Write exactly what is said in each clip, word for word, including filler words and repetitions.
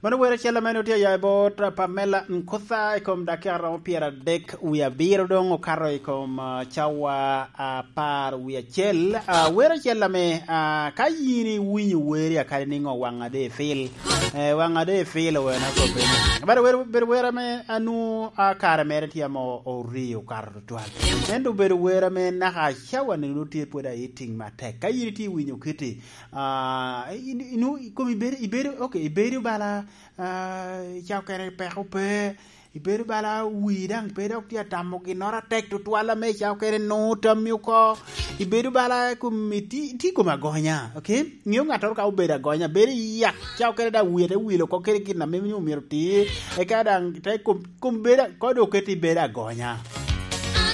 Mano wer acel ame onwoŋo tye aya i bot, ah, Pamela Nkutha i kom dakika romo pyeradek wie abiro, doŋ okato i kom, ah, cawa apar wie acel. Ah, wer acel ame, ah, ka yin iwinyo weri akadi niŋo waŋ ade ipil. Eh, waŋ ade ipil owena kobbe. But wer, ber wer ame anu, ah, kare mere tye ame o-, orio okato tutwal. Ento obedo wer ame naka cawa ni nwoŋo tye pwod ayiting matek. Ka yin itye iwinyo kiti, ah, in, inu-, kom ibedo, ibedo, ok, ibedo bala, ah, ca okene peko pe, ibedo bala wi daŋ pe dok tye atamo ginnoro atek tutwal ame ca okene nwoŋo tammi oko, ibedo bala kom iti-, iti kom agonya, ok? Ŋeo ŋattoro ka obedo agonya, bedo i yak, ca okene daŋ wie te wilo oko kede gin ame nyo myero ti, eka daŋ te kom, kom bedo, ko dok keti bedo agonya.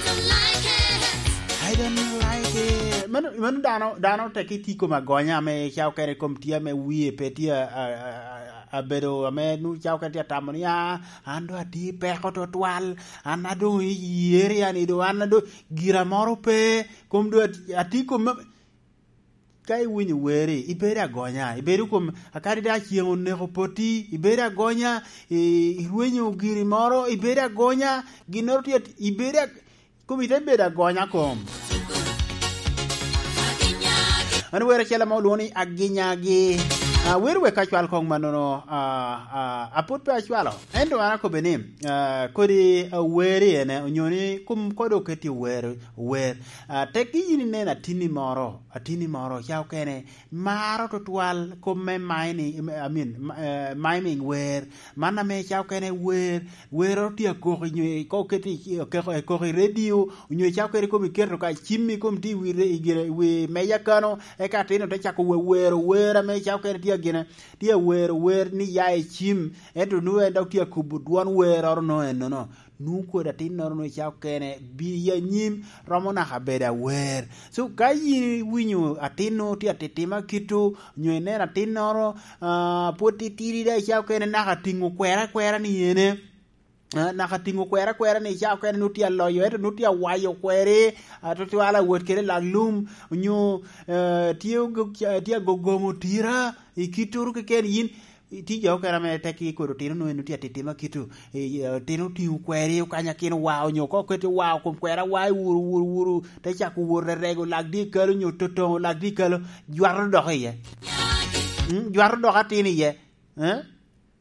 I don't like it. I don't like it. Mano, mano dano, dano tek iti kom agonya ame ca okene kom tye ame wie pe tye a, a, a, a, abedo ame nu ca okene tye atamo ni, "Ah, an doŋ ati peko tutwal, an adoŋ i area ni doŋ, an adoŋ gira moro pe, kom doŋ ati, ati kom me," Ka iwinyo weri, ibedo agonya, ibedo kom, akadi daŋ ceŋ oneko poti, ibedo agonya, i-, irwenyo giri moro, ibedo agonya, ginnoro tye at-, ibedo ag-, kom ite bedo agonya kom. Mano wer acel ame olwoŋo ni Aginyagi. Ah, wer wek acwal koŋ mannono, ah, ah, apwod pe acwalo. Ento an akobbe ni, ah, kodi, ah, weri ene, onyo ni kom kodi oketi wer, wer. Ah, tekki yin inen atinni moro, atinni moro, ca okene, maro tutwal kop me mining, I mean, ma-, eh, miming wer. Man ame ca okene wer, wero tye akok i nyo, ka oketi i, akok, akok i redio, onyo ca okene kom iketo ka cimmi kom tye i wi re-, i gire, i wi meja kano, eka atin-nu te cako we-, wero wer ame ca okene tye agine, tye awero wer ni ya i cim, ento nwoŋo en dok tye akubo dwon weroro no ennono. Nwoŋo kodi atinnoro nwoŋo ca okene, bi i anyim, romo naka bedo awer. So, ka yin iwinyo atinnu tye atittima kito, onyo ineno atinnoro, ah, pwod titidi daŋ ca okene naka tiŋo kwera akwera ni ene, ah, naka tiŋo kwera akwera ni ca okene nwoŋo tye aloyo, ento nwoŋo tye awayo kweri, ah, tutwal awot kede lak lum, onyo, eh, tye ogo-, tye agogomo tira, i kittoro keken yin, Tye jo okene ame tekki kodi otino nwoŋo en tye atittima kito, eh, otino otiŋo kweri okanyo akin owa, onyo ka oketi owa, kom kweri awa i wuru, wuru, wuru, te cako wot rerego lak dye kalo, onyo totoŋo lak dye kalo, jwato dok iye. Mm, jwato dok atin iye. Eh?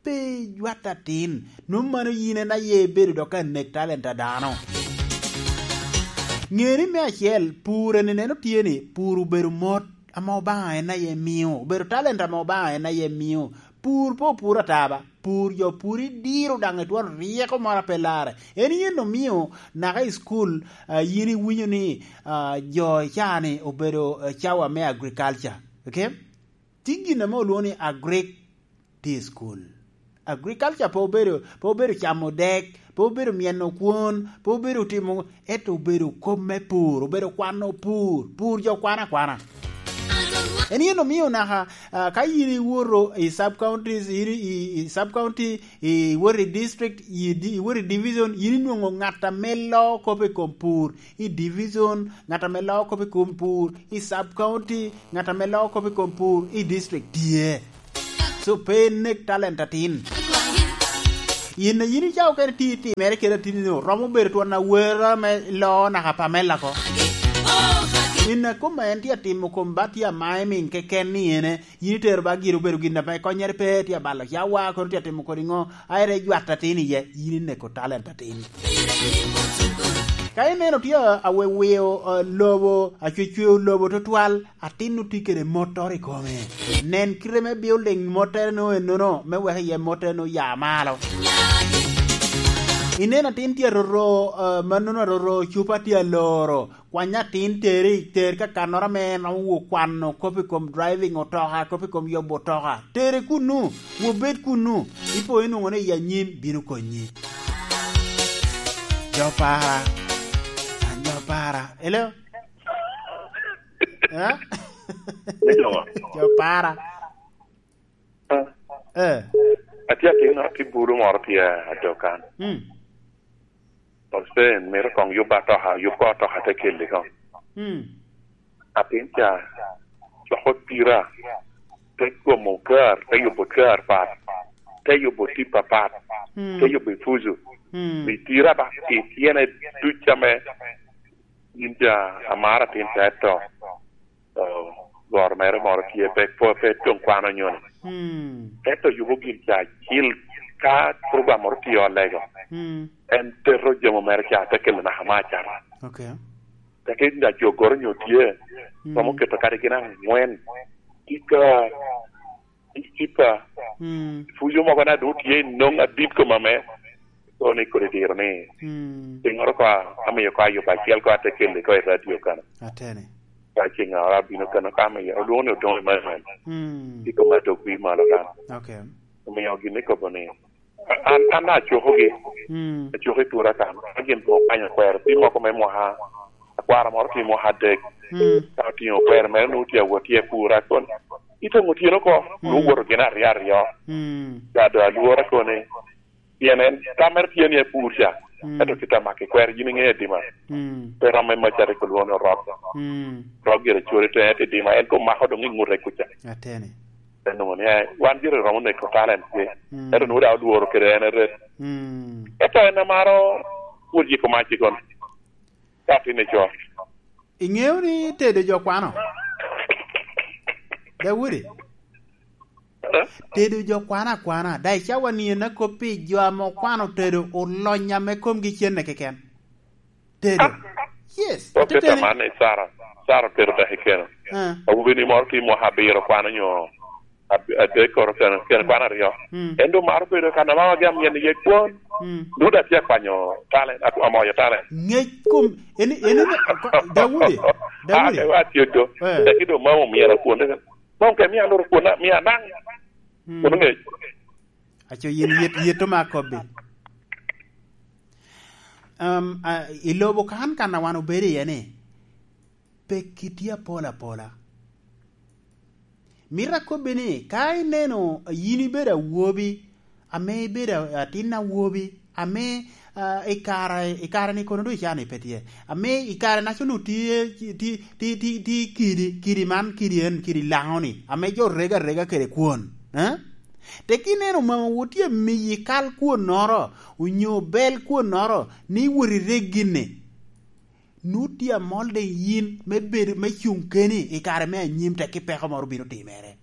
Pe jwat atin. Nwoŋo mano yin en aye ibedo dok ka nek talent a dano. Ŋe ni me acel, pur en ineno tye ni, pur obedo mot ame Obaŋa en aye mio, obedo talent ame Obaŋa en aye mio. Pur pe opuro ata ba, pur jo pur idiro daŋ itwon ryeko moro a pe larre. En yen omio naka i cukul, ah, yin iwinyo ni, ah, jo i caa-ni obedo, eh, cawa me agriculture. Ok? Tye gin ame olwoŋo ni agric tye i cukul. Agriculture pe obedo, pe obedo camo dek, pe obedo myeno kwon, pe obedo timo, ento obedo kop me pur, obedo kwano pur, pur jo kwano akwana. En yen omio naka, ah, ka yin iwoto i sub counties, yin i, i, i sub county, iwoto i district, i di-, iwoto i division, yin inwoŋo ŋat ame loo kop i kom pur, i division, ŋat ame loo kop i kom pur, i sub county, ŋat ame loo kop i kom pur, i district tye. So, pe inek talent atin. Yin, yin ica okene ti itimere kede atinni-nu, romo bedo twon awera me loo naka Pamela ko. In a koma en tye atimo kom ba tye a miming keken ni ene, yin itero ba gire obedo gin ame konnyere pe tye abalo cawa, kono tye atimo kodi ŋo, a ere jwat atin iye, yin ineko talent atin. Ka ineno tye a, awewiyo, eh, lobo, acwecweyo lobo tutwal, atin otye kede motor i kome. Nen kite me building mottere no ennono, me wek iye mottere no ya malo. Ineno atin tye aroro, eh, mannono aroro, cupa tye aloro. Kwany atin teri, ter ka kannoro ame en romo wo kwano kop i kom driving otoka, kop i kom yobo otoka. Tere kunnu, wobed kunnu. Ipo inwoŋo ni i anyim bino konyi. Jo para, an jo para. Hello? Eh? Me jo. Jo para. Ah. Eh. Atye atin, atye bulu moro tye adokan. Mm. Hussein, mito koŋ yub atoka, yub ko atoka te kelle koŋ. Mm. Atin ca, coko tira, te twomo kar, te yubo kar pat. te yubo tip apat, mm, te yubo Epuco. Mm. Pi tira ba, i tyene duc ame yin ja amaro atin ca eto, eh, goro mere moro tye, pe, pe, pe toŋ kwano nyoni. Mm. Eto yubo gin ca acil, ka program moro tye olego, mm, en teto jamo mere ca, te kelo naka me acata. Okay. Teke yin ja jogoro nyo tye, mm, romo keto kadi gin angwen. Tika Ecipa. Mm. Puco mogo na doŋ tye i noŋ adit kom ame. Kono ni kodi diro ni. Mm. Piŋoro ko a-, amiyo ko ayubo acel ko ate kelle ko i radio kano. Atene. Ka ceŋ ora abino kano ka amiyo, olwoŋo ni Odongo Emmanuel. Mm. I kom adok wi malo kano. Okay. Omiyo gin ikobo ni, an, an acokogi. Mm. Acoko i tura kano. Ka gin okwanyo kwero, pi moko me mwaka, akwara moro tye mwaka adek. Mm. Ka otingo kwero mere, nwoŋo tye awot tye pura. Kono itoŋo otyeno oko, mm, nwoŋo woto gin aryo aryo. Mm. Ka doŋ alwora kono ni, pien en tam mere tye ni epur ca. Mm. Ento kite amaki kwero, yin iŋeo Edima. Mm. Pe rom me mac rik olwoŋo ni Orok. Mm. Orok gire cwero i teŋe te Edima, en koŋ mako doŋ i ŋute kuca. Ateni. Te nwoŋo ni, eh, wan gire romo neko talent tye. Mm. Ento nwoŋo daŋ olworo kede en eret. Mm. Ento en amaro pwod yiko mac i kono. Ka atin i co. Iŋeo ni tedo jo kwano? Daudi? Eh? Tedo jo kwano akwana. Daŋ icawa ni en akop pi jo ame okwano tedo olony ame komgi cenne keken. Tedo. Ah. Yes. Oke ateteni. Tamani, Sara. Sara otedo daki keno. Ah. Awobi ni moro tye mwaka abiro kwano nyo ab-, adek koro kene, kene kwano aryo. Mm. En doŋ maro bedo kan amama gi amyel iye kwon. Mm. Nwoŋo daŋ tye akwanyo talent, ak-, amoyo talent. Ŋec kom, eni, eni, Daudi, Daudi. Ah, ewa atye do. Eh. Tek doŋ mama omyero kwon. Mom ke mia loro kwon, mia naŋ. Mm. Kwon ŋec. Aco yin yet, yet oma akobbi. Um, a, i lobo kan, kan a wan obedo iye ni, pekki tye apol apola. Mito akobbi ni, ka ineno yin ibedo awobi, ame ibedo a-, atin awobi, ame, ah, i kare, i kare-ni kono doŋ ican ni pe tye, ame i kare-naca onwoŋo tye, tye, tye, tye, tye kidi, kidi man, kidi en, kidi Laŋo-ni, ame jo rego arega kede kwon, eh? Tek ineno mamawu tye amiyi kal kwonnoro, onyo bel kwonnoro, ni wot ireg gin-ni. Nut tye amol de yin me bedo, me cuŋ keni i kare me anyim, tek ki peko moro bino timere.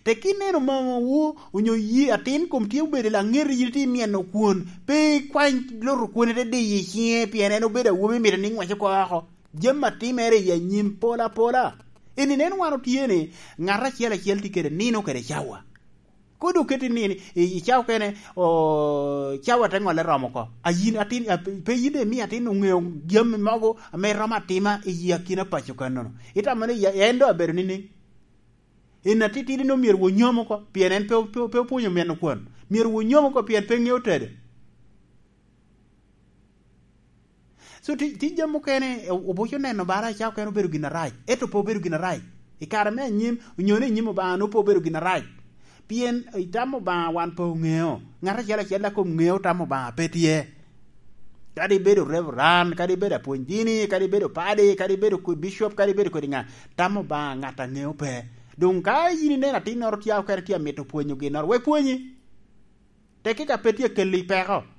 Tek ineno mamawu onyo yi atin kom tye obedo laŋet, yin tye imyeno kwon, pe ikwany loto kwon ite diyo i ciŋe, pien en obedo awobi, mito ni ŋwec oko oko. Jami atimere i anyim pol apola. Eni nen wan otye ni, ŋat acel acel tye kede nino kede cawa. Kodi oketi ni, i, i cawa okene, o, cawa te ŋolle romo oko. A yin atin, a, pe, pe yin daŋ imi atin oŋeo jami mogo ame romo atima i yi akina paco kannono. Itamo ni ya, en doŋ abedo nining? En atitidi no myero wonyom oko, pien en pe, pe, pe opwonyo meno kwon. Myero wonyom oko, pien pe ŋeo tedo. So, ti-, tye jami mukene, o-, obuco neno bara, ca okene obedo gin arac, ento pe obedo gin arac. I kare me anyim, onyo ni i nyim Obaŋa, nwoŋo pe obedo gin arac. Pien i tam Obaŋa wan pe oŋeo. Ŋat acel acel a kom ŋeo tam Obaŋa pe tye. Kadi ibedo reverend, kadi ibedo apwony dini, kadi ibedo padi, kadi ibedo kwe-, bishop, kadi ibedo kodi ŋa, tam Obaŋa ŋat a ŋeo pe. Doŋ ka yin ineno atinnoro tye okene tye amito pwonyo ginnoro, wek pwonyi. Tekki ka pe tye keli peko,